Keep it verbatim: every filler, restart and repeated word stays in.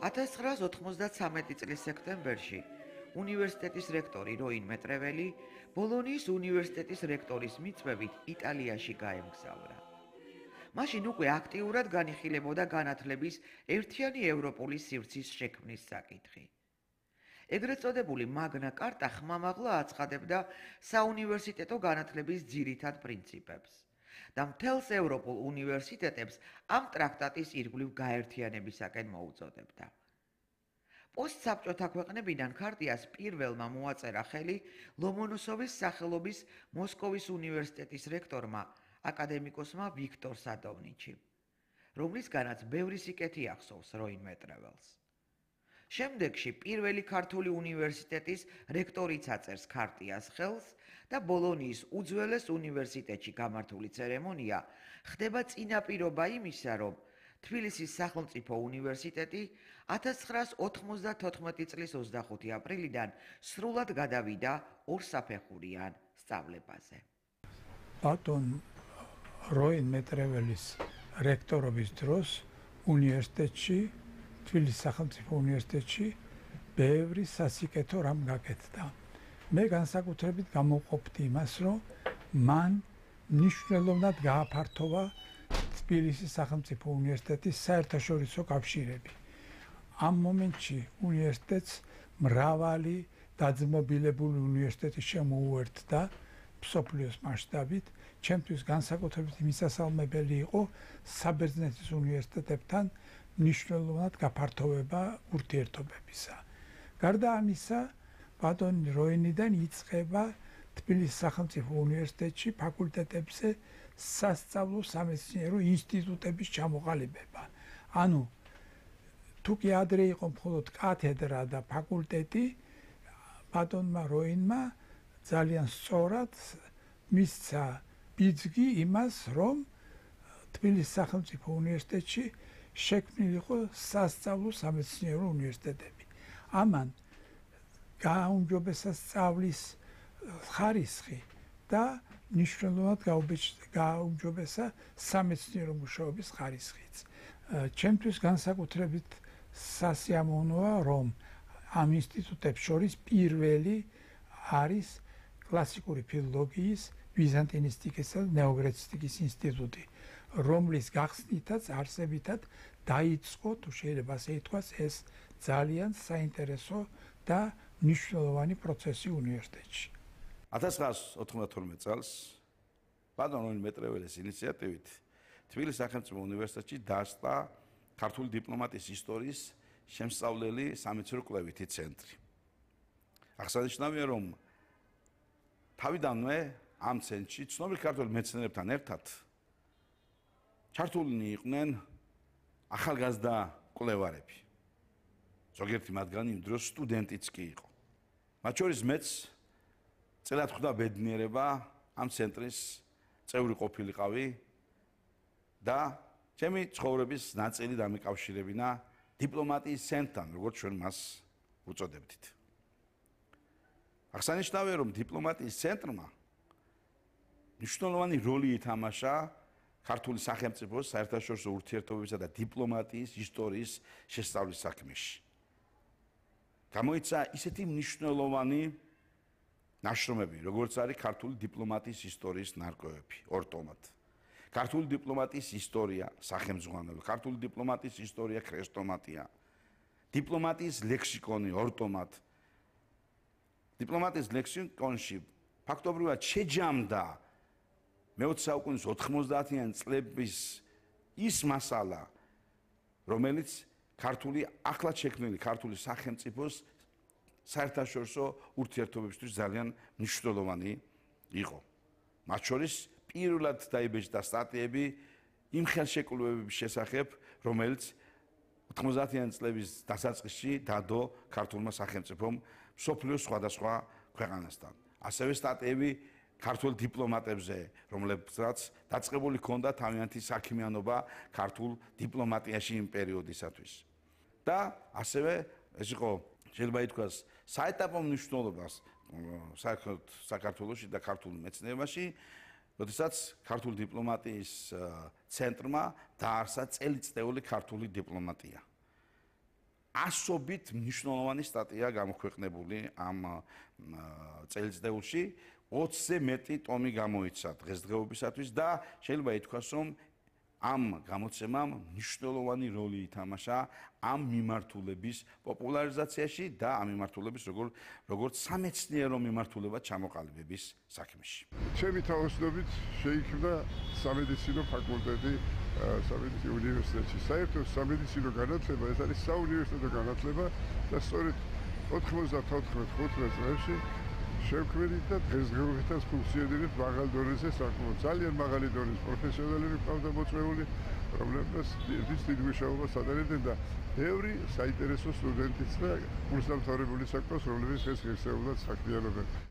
ათას ცხრაას ოთხმოცდათვრამეტი წლის სექტემბერში უნივერსიტეტის რექტორი როინ მეტრეველი ბოლონიის უნივერსიტეტის რექტორის მიწვევით იტალიაში გაემგზავრა. მაშინ უკვე აქტიურად განიხილებოდა განათლების ერთიანი ევროპული სივრცის შექმნის საკითხი. ეგრეთ წოდებული მაგნა კარტა ხმამაღლა აცხადებდა საუნივერსიტეტო განათლების ძირითად პრინციპებს და მთელს ევროპულ უნივერსიტეტებს ამ ტრაქტატის ირგვლივ გაერთიანებისაკენ მოუწოდებდა. პოსტსაბჭოთა ქვეყნებიდან ქარტიას პირველმა მოაწერა ხელი ლომონოსოვის სახელობის მოსკოვის უნივერსიტეტის რექტორმა აკადემიკოსმა ვიქტორ სადოვნიჩიმ, რომლისგანაც ბევრი სიკეთი ახსოვს როინ მეტრეველს. შემდეგში პირველი ქართული უნივერსიტეტის რექტორიც აწერს ქარტიას ხელს და ბოლონიის უძველეს უნივერსიტეტში გამართული ცერემონია ხდება წინაპირობა იმისა, რომ თბილისის სახელმწიფო უნივერსიტეტი ათას ცხრაას ოთხმოცდათოთხმეტი წლის ოცდახუთი აპრილიდან სრულად გადავიდა ორსაფეხურიან სწავლებაზე. ბატონ როინ მეტრეველის რექტორობის დროს უნივერსიტეტში, თბილისის სახელმწიფო უნივერსიტეტში ბევრი სასიკეთო რამ გაკეთდა. მე განსაკუთრებით გამოვყოფდი იმას, რომ მან მნიშვნელოვნად გააფართოვა თბილისის სახელმწიფო უნივერსიტეტის საერთაშორისო კავშირები. ამ მომენტში უნივერსიტეტს მრავალი დაძმობილებული უნივერსიტეტი შემოუერთდა მსოფლიოს მასშტაბით. ჩემთვის განსაკუთრებით მისასალმებელი იყო საბერძნეთის უნივერსიტეტებთან მნიშვნელოვნად გაფართოვება ურთიერთობებისა. გარდა ამისა, ბატონ როინიდან იწყება თბილისის სახელმწიფო უნივერსიტეტში ფაკულტეტებზე სასწავლო სამეცნიერო ინსტიტუტების ჩამოყალიბება. ანუ თუ კი ადრე იყო მხოლოდ კათედრა და ფაკულტეტი, ბატონმა როინმა ძალიან სწორად მისცა ბიძგი იმას, რომ თბილისის სახელმწიფო უნივერსიტეტში შექმნილიყო სასწავლო სამეცნიერო უნივერსიტეტები. ამან გააუმჯობესა სწავლის ხარისხი და მნიშვნელოვნად გააუმჯობესა სამეცნიერო მუშაობის ხარისხიც. ჩემთვის განსაკუთრებით სასიამოვნოა, რომ ამ ინსტიტუტებს შორის პირველი არის კლასიკური ფილოლოგიის, ბიზანტინისტიკისა და ნეოგრეცისტიკის ინსტიტუტი, რომლის გახსნითაც არსებითად დაიწყო, თუ შეიძლება ასე ითქვას, ეს ძალიან საინტერესო და მნიშვნელოვანი პროცესი უნივერსიტეტში. ათას ცხრაას ოთხმოცდათორმეტ წელს ბატონ როინ მეტრეველის ინიციატივით თბილისის სახელმწიფო უნივერსიტეტში დაარსდა ქართული დიპლომატიის ისტორიის შემსწავლელი სამეცნიერო კვლევითი ცენტრი. აღსანიშნავია, რომ თავიდანვე ამ ცენტრში ცნობილ ქართულ მეცნიერებთან ერთად ჩართულნი იყვნენ ახალგაზრდა კვლევარები. ზოგიერთი მათგანი იმ დროს სტუდენტიც კი იყო. მათ შორის მეც წელად ხვდა ბედნიერება ამ ცენტრის წევრი ყოფილიყავი და ჩემი ცხოვრების ნაწილი დამიკავშირებინა დიპლომატიის ცენტრთან, როგორც ჩვენ მას უწოდებდით. აღსანიშნავია, რომ დიპლომატიის ცენტრმა მნიშვნელოვანი როლი ითამაშა ქართული სახელმწიფოს საერთაშორისო ურთიერთობებისა და დიპლომატიის ისტორიის შესწავლის საქმეში. გამოიცა ისეთი მნიშვნელოვანი ნაშრომები, როგორც არის ქართული დიპლომატიის ისტორიის ნარკვევები, ორ ტომად. ქართული დიპლომატიის ისტორია, სახელმძღვანელო, ქართული დიპლომატიის ისტორია, ქრესტომატია, დიპლომატიის ლექსიკონი, ორ ტომად. დიპლომატიის ლექსიკონში ფაქტობრივად შეჯამდა მეოცე საუკუნის ოთხმოცდაათიან წლების ის მასალა, რომელიც ქართული ახლად შექმნილი ქართული სახელმწიფოს საერთაშორისო ურთიერთობებისთვის ძალიან მნიშვნელოვანი იყო. მათ შორის პირველად დაიბეჭდა სტატიები იმ ხელშეკრულებების შესახებ, რომელიც ოთხმოცდაათიან წლების დასაწყისში დადო ქართულმა სახელმწიფომ მსოფლიოს სხვადასხვა ქვეყანასთან. ასევე სტატიები ქართულ დიპლომატებზე, რომლებსაც დაწყებული ჰქონდა თავიანთი საქმიანობა ქართულ დიპლომატიაში იმ პერიოდისათვის. და ასევე ეს იყო შეიძლება ითქვას საეტაპო მნიშვნელობას საქართველოში და ქართულ მეცნიერებაში, როდესაც ქართული დიპლომატიის ცენტრმა დაარსა წელიწწეული ქართული დიპლომატია. ასობით მნიშვნელოვანი სტატია გამოქვეყნებული ამ წელიწადში, ოცზე მეტი ტომი გამოიცა დღესდღეობისათვის და შეიძლება ითქვას, რომ ამ გამოცემამ მნიშვნელოვანი როლი ითამაშა ამ მიმართულების პოპულარიზაციაში და ამ მიმართულების როგორ როგორც სამეცნიერო მიმართულება ჩამოყალიბების საქმეში. ჩემი თავოსნობით შეიქმნა სამედიცინო ფაკულტეტი სამედიცინო უნივერსიტეტში. საერთოდ სამედიცინო განათლება ეს არის საუნივერსიტეტო განათლება და სწორედ ოთხმოცდათოთხმეტ ხუთმეტ წლებში შევქმნით და დღესდღეობითაც ფუნქციონირებს მაღალ დონეზე საკმაოდ ძალიან მაღალი დონის პროფესიონალები ყავდა მოწვეული, რომლებსაც დიდი მუშაობას ატარებდნენ და ბევრი საინტერესო სტუდენტიც და კურსდამთავრებული საქმეს, რომლებიც ეს ღირსეულად საქმიანობენ.